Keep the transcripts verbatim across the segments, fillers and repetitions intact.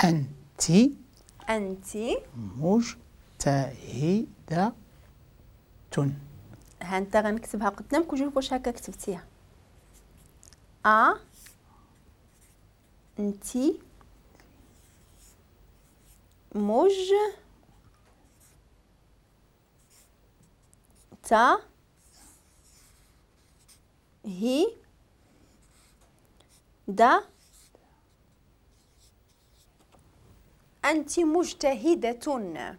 أنت أنت مجتهدة. ها أنت غنكتبها قدامك وشوف واش هكا كتبتيها. أ أنت مج تا هي دا. أنت مجتهدة.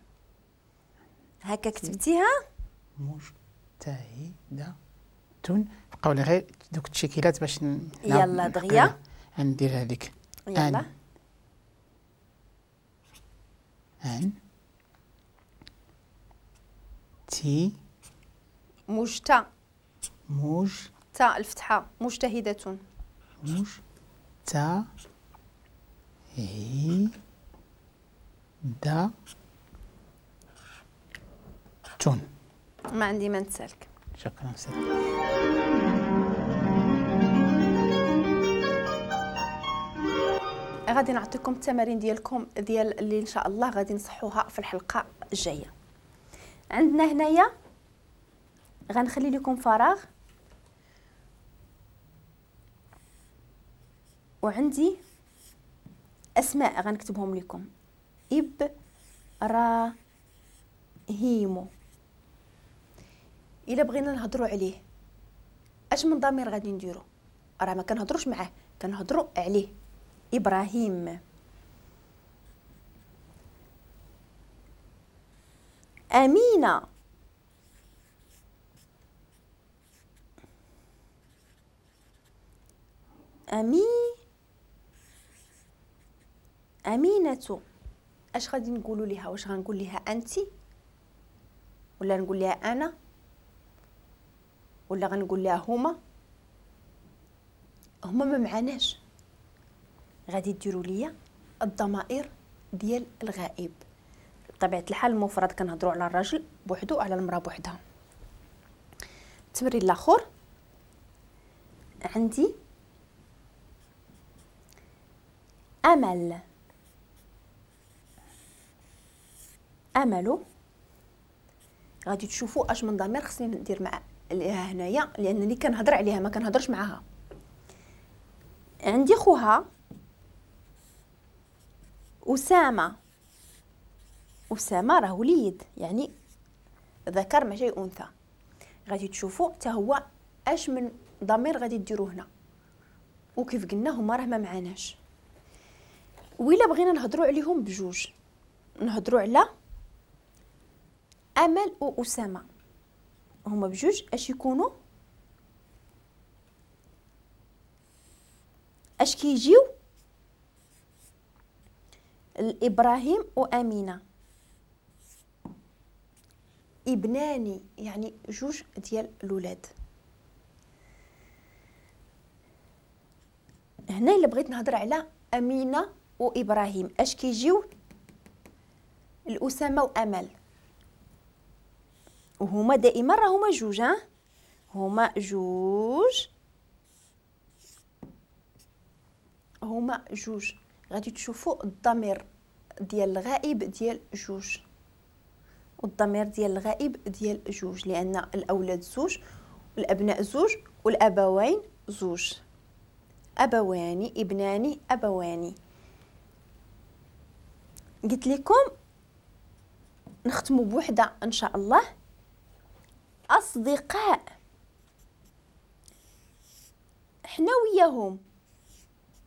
هكا كتبتيها؟ مجتهدة. بقاو لي غير دوك التشكيلات باش ن... يلا دغيا ندير هذيك. يلا أن تي مجتا مج تا الفتحة مجتهدة مج تا هي دا تون. ما عندي ما نتسالك. شكرا أستاذ. غادي نعطيكم التمارين ديالكم ديال اللي ان شاء الله غادي نصحوها في الحلقة الجاية. عندنا هنايا غنخلي لكم فراغ، وعندي اسماء غنكتبهم لكم. ابراهيم، الا بغينا نهضروا عليه اش من ضمير غادي نديرو؟ راه ما كنهضروش معاه، كنهضروا عليه. ابراهيم. امينه، امي امينه، اش غادي نقولوا ليها؟ واش غنقول ليها انت ولا نقول ليها انا ولا غنقول لها هما؟ هما ما معناش. غادي ديروا ليا الضمائر ديال الغائب. بطبيعة الحال المفرد كنهضروا على الراجل بوحدو وعلى المراة بوحدها. التمرين الاخر عندي امل. امل غادي تشوفوا اش من ضمير خصني ندير مع هنايا، لانني كنهضر عليها ما كنهضرش معاها. عندي خوها أسامة. أسامة راه وليد، يعني ذكر ماشي أنثى. غادي تشوفوا حتى هو اش من ضمير غادي ديروا هنا، وكيف قلنا هما راه ما معناش. وإلا بغينا نهضروا عليهم بجوج، نهضروا على أمل وأسامة، هما بجوج اش يكونوا؟ اش كيجيو؟ الإبراهيم وأمينة، ابناني، يعني جوج ديال الولاد. هنا الا بغيت نهضر على أمينة وإبراهيم اش كيجيو؟ الأسامة وأمل، وهما دائما راه هما جوج، ها هما جوج، هما جوج. غادي تشوفوا الضمير ديال الغائب ديال جوج والضمير ديال الغائب ديال جوج، لان الاولاد زوج والابناء زوج والابوين زوج. ابوان، ابنان، ابوان. قلت لكم نختموا بوحده ان شاء الله. اصدقاء، حنا وياهم